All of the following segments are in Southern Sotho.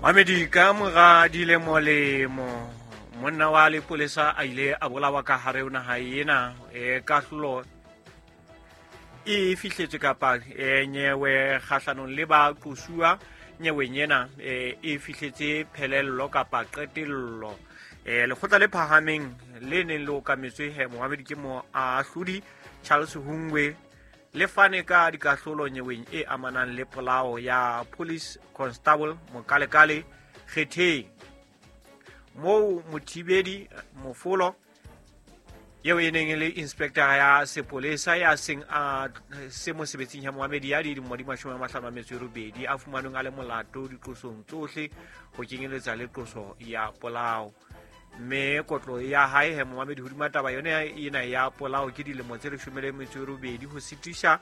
Mamedi, ka mora dilemo-lemo monna wa lepolesa a ile a bolawa ka hare ho naha ena. Kahlolo e fihletswe kapa nyewe kgahlanong le ba qosuwa nyeweng ena e fihletse phelello kapa qetello. Lekgotla le phahameng le neng le okametswe he moamedi ke moahlodi Charles Hungwe le fane ka dikahlolo nyeweng e amanang le polao ya Police Constable Mokalekale Kgetheng, moo Mothibedi Mofolo eo e neng e le inspector ya sepolesa ya seng a se mosebetsing ya moamedi ya dilemo di 58 a fumanweng a le molato diqosong tsohle ho kenyeletsa le qoso ya polao. Mme kotlo ya hae he moamedi hodima taba yone ena ya polao ke dilemo tse 18, ho sitisha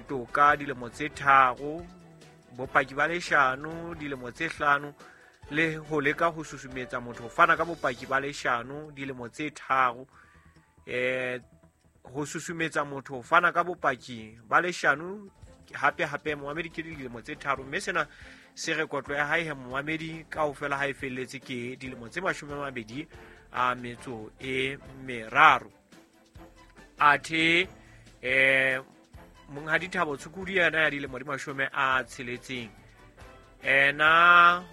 toka dilemo tse 3, bopaki ba leshano dilemo tse 5, le ho leka ho susumetsa motho ho fana ka bopaki ba leshano dilemo tse 3, ho susumetsa motho ho fana ka bopaki ba leshano hape hape moamedi ke dilemo tse 3. Mme sena se re kotlo ya hae he moamedi kaofela ha e felletse ke dilemo tse 23. Athe monghadi Thabo Tshukudu yena ya dilemo di 60 ena